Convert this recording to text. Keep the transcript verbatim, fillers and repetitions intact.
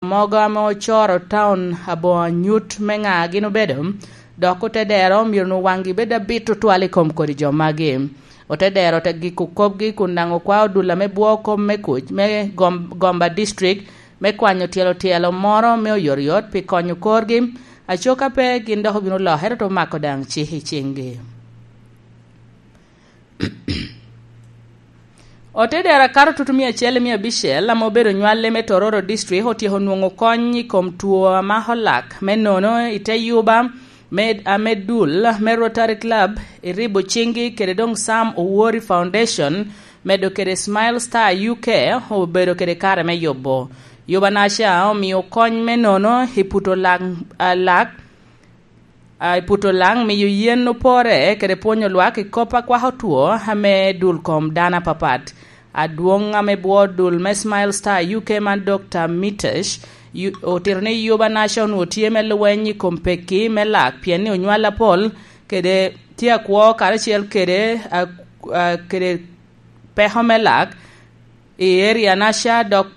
mogo ame ocoro taun aboŋo anyut me ŋa gin obedo, dok ote dero myero onwoŋ waŋgi bed abit tutwal i kom kodi jo magi. Ote dero te giko kopgi kun daŋ okwao dul ame bwo kop me kuc me gom-, Gomba District me kwanyo tyelo tyelo moro me oyotoyot pi konyo korgi. Acoka pe gin dok obino lokere te omako daŋ cik i ciŋgi. Otedero akato tutu mia acel i mia abicel ame obedo nywale me Tororo District otyeko nwoŋo kony i kom two a mako lak me nono i te yuba me, ame dul me Rotary Club i ribo ciŋgi kede doŋ Sam Owori Foundation, medo kede Smile Star U K obedo kede kare me yubo. Yuba naca omio kony me nono i puto lak, a, lak, a, i puto lang, miyo yen opore kede pwonyo lwak i kop a kwako two ame dul kom dano apapat. Adwoŋ ame bwo dul me Smile Star U K man Dokta Mitesh, yu-, otito ni Yuba Nation otye me lweny i kom pekki me lak, pien ni onywal apol kede tye akwo karacel kede, a, a, kede peko me lak i area naca, dok